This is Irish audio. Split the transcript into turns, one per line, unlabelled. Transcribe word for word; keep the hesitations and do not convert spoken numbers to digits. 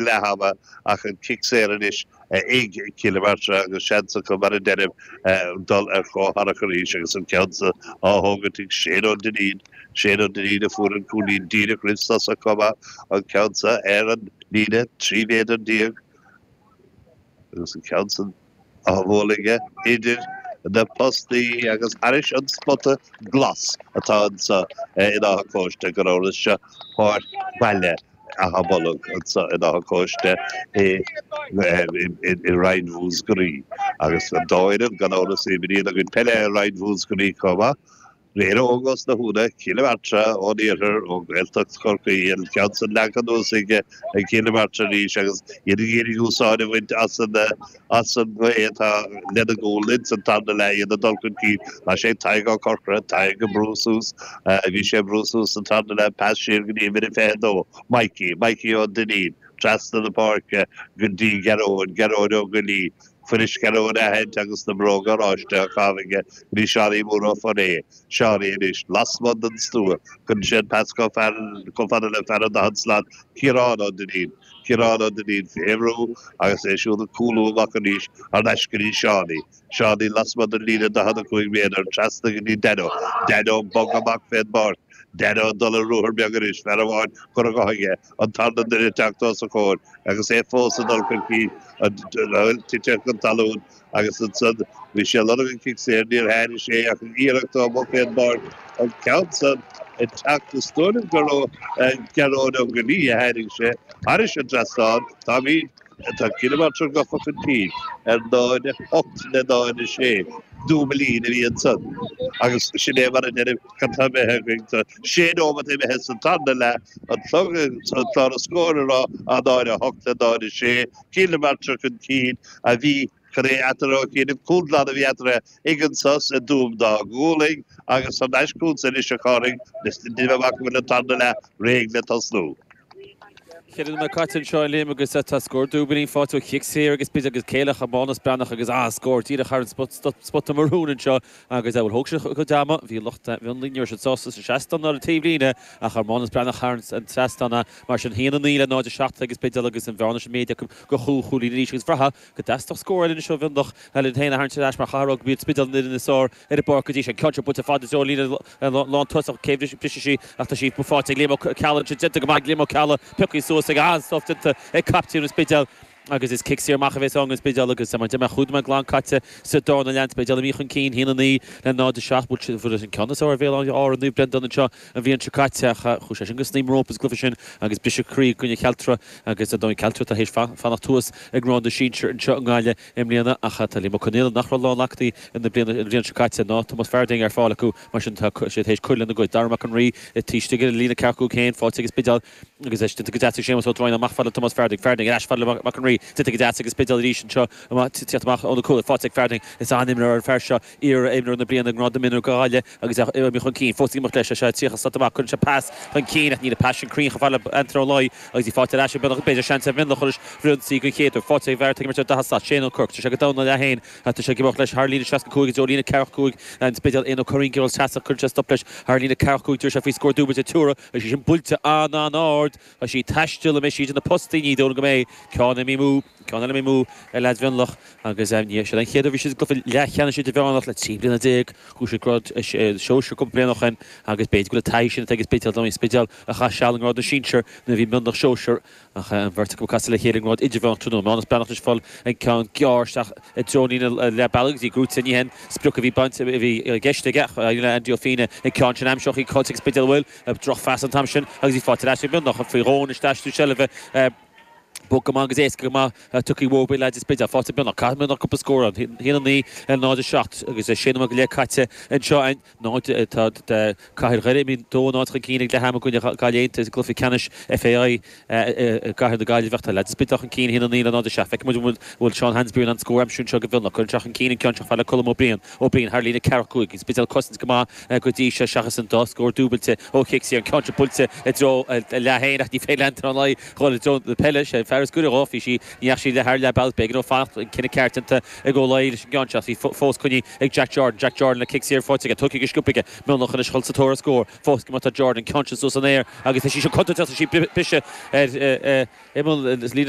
Leath ama ach an cic saor anois ag Cill na Martra agus seans acu, mar a deirim, dul ar comhtharrac arís agus an ceann san á thógaint ag Shane Ó Duinnín, Shane Ó Duinnín a fuair an cúilín díreach roimh sos chomh maith, an ceann san ar an líne trí mhéadar déag agus an ceann san á bhualadh aige idir na postaí agus thairis an spota glas atá anseo in Áth Cóiste, gan amhras seo páirc bhaile Átha Bolg anseo in Áth Cóiste i Roinn Mhúscraí agus an dá fhoireann gan amhras a imríonn a gcuid peile i Roinn Mhúscraí chomh maith. Éire Óg as na hÚna, Cill na Martra ón iarthar, ó Ghaeltacht Chorcaí, an ceann san leagtha anuas ag Cill na Martra arís agus iad ag iarraidh úsáid a bhaint as an as an ngaoth atá lena gcúl ins an tarna leath, iad ag dul chun cinn. Tá sé ag Tadhg Ó Corcora, Tadhg ag brú suas, bhí sé ag brú suas sa tarna leath, pas siar go dtí uimhir a fiche a dó, Mikey, Mikey Ó Duinnín, trasna na páirce go dtí Gearóid, Gearóid Ó Goillí, Fuirist Gearóid a aithint agus na bróga oráiste á chaitheamh aige go dtí Seánie Mór Ó Foirréidh. Seánie anois lasmuigh den stua. Cuireann sé an pas chomh fada le fear an daichead slat, Ciarán Ó Duinnín. Ciarán Ó Duinnín fé bhrú agus é siúd ag cúlú amach arís thar n-ais go dtí Seánie. Seánie lasmuigh den líne daichead a cúig méadar, trasna go dtí Danno. Danno ag bogadh amach fén bpáirc. Danno ag dul ar ruathar beag anois, fear amháin curtha dhe aige, an tarna duine ag teacht os a chomhair agus é fós ag dul chun cinn, tite chun talún agus ansan bhí sé ag lorg an cic saor, níor tháinig sé ach an iarracht ó amuigh fén bpáirc, an ceann san ag teacht is dóigh liom gur ó Ghearóid Ó Goillí a tháinig sé thairis an trasnán. Táimid. Tá Cill na Martra gafa chun cinn ar náid a hocht le náid a sé. Dúbailín a bhí ansan agus sin é mar a deirim, cad tá imithe againn? Tá sé nóimeat imithe sa tarna leath, an clog, an clár scóir ag rá a náid a hocht le náid a sé. Cill na Martra chun cinn a bhí chun é eatarthu a chinneadh. Cúl glan a bhí eatarthu ag an sos i dTuaim dá gCualainn agus thar n-ais chugatsa anois a Chárthaigh, níl amach go bhfuil an tarna leath réidh le tosnú.
Ceithre nóiméad caite anseo a Liam agus tá scór dúbailín faighte ó chic saor ag an Spidéal agus céile Mánus Breathnach agus an-scór díreach thar an spota marún anseo agus bhuel thóg sé a chuid ama, bhí lucht Mhionlaigh ní raibh siad sásta sa seastán ná ar an taobhlíne ach chuir Mánus Breathnach thar an trasnán é mar sin haon a naoi le náid a seacht ag an Spidéal agus an bhearna sin méadaithe acu go chúig chúilín arís agus bhraithfeá go dteastódh scór eile anois ó Mhionlach le iad féin a tharraingt ar ais mar chaithfear a rá go mb'iad Spidéal an fhoireann is fearr ar an bpáirc go dtí seo. An ceann seo buailte fada i dtreo líne lántosach cé bhrisfidh sí ach tá sí faighte ag Liam Ó Ceallaigh ansin déanta go maith ag Liam Ó Ceallaigh pioctha suas ag an-stop déanta ag captaen an Spidéil agus is cic saor amach a bheas ann don Spidéal agus mar a deir mé chúig nóiméad glan caite sa darna leath an Spidéal imithe chun cinn haon a naoi le náid a seacht bhuail siad an ceann is fearr ar Bhéal Átha Naomh Breandán anseo an bhliain seo caite ach chuaigh sé sin go snaidhm rompu sa gcluiche sin agus briseadh croí i gcoinne Chealtra agus ar ndóigh Cealtra atá théis fanacht thuas i ngrád na sinsear anseo i nGaillimh i mbliana ach tá Liam Ó Conaola nach raibh lánaclaí na bliana an bhliain seo caite ná Tomás Farding ar fáil acu mar sin tá siad théis cur lena gcuid. Dara Mac an Rí taobh istigh ar an líne ceathracha cúig féin faighte ag an Spidéal agus é déanta go deas ag Séamus Ó Droighneáin amach fad le Tomás Farding. Farding ar ais fad le Mac an Rí déanta go deas ag an Spidéal arís anseo teacht amach óna cúl faighte ag Farding. Is an-imreoir an fear seo iar-imreoir na bliana i ngrád na mionúr do Ghaillimh agus é imithe chun cinn fós ag imeacht leis. Tá sé tríocha slat amach cuireann sé pas chun cinn ach níl an pas sin cruinn chomh fada le Antaine Ó Laoi agus í faighte ar ais ag Mionlach b'fhéidir seans ar Mhionlach anois ionsaí den chéad uair. Faighte ag fear atá ag imirt ar daichead slat, Shane Ó Cuirc. Tá sé go domhan leath féin. Tá sé ag imeacht leis thar líne seasca cúig i dtreo líne ceathracha cúig an Spidéil. Éanna Ó Curraoin ag seasamh cuireann sé stop leis thar líne ceathracha cúig. D'éirigh sé faoi scór dúbailte Tuara agus í sin buailte an-an-ard. Tá sí ag taisteal an mbeidh sí idir na postaí? Ní dóigh liom go mbeidh. Ceann imithe amú, ceann eile imithe amú ag leaids Mhionlach agus ní hé an chéad uair a bhí siad i gcluiche leathcheannais idirmheánach le trí bliana déag. Chuaigh siad grád sóisir cúpla bliain ó shin agus b'fhéidir go bhfuil an taithí sin atá ag an Spidéal, an Spidéal a chaith seal i ngrád na sinsear nuair a bhí Mionlach sóisir ach an bheirt acu ag casadh le chéile i ngrád idirmheánach tráthnóna. Mánus Breathnach anois ag fáil an ceann gearr isteach i dtreo an líne leath bealaigh agus í gnóite ní hin sprioc a bhí bainte a bhí i gceist aige ach éiríonn le Andy Ó Fianna an ceann sin a aimsiú ach í caillte ag an Spidéal an bhfuil drochphas an t-am sin agus í faighte ar ais ag Mionlach faoi dhó anois d'aistriú seilbhe Bog go maith agus éasca go maith tugtha uathu ag leaids an Spidéil. Faighte ag Mionlach. Caithfidh Mionlach cúpla scór ann. Haon a naoi le náid a seacht agus sé nóiméad go leith caite anseo. Náid tá Cathair Dhoire imithe dó a náid chun cinn ag leath ama i gcoinne Gaillimh Aontaithe i gcluiche ceannais FAI i gCathair na Gaillimhe ach tá leaids an Spidéil chun cinn haon a naoi le náid a seacht. Feicfidh muid an bhfuil Seán Hansberry in ann scór a aimsiú anseo do Mhionlach. Cuireann sé chun cinn an ceann seo fad le Colm Ó Briain. Ó Briain thar líne ceathracha cúig. An Spidéal ag cosaint go maith go dtí seo seachas an dá scór dúbailte ó chic saor. An ceann seo buailte i dtreo leath féin ach ní féidir le Antaine Ó Laoi dhul i dtreo na peile. Sé fear is gaire dhó, bhí sí, ní dheachaigh sí le thar leath bealaigh, b'éigean dó fanacht, an cinneadh ceart déanta ag Ó Laoi leis an gceann seo, bhí fós coinnithe ag Jack Jordan, Jack Jordan le cic saor faighte aige, tugtha go sciobtha aige, Mionlach anois a dhul sa tóir ar scór, fós go mbeadh Jordan, ceann sin suas san aer agus tá sí seo contúirteach, tá sí briseadh ar imeall líne.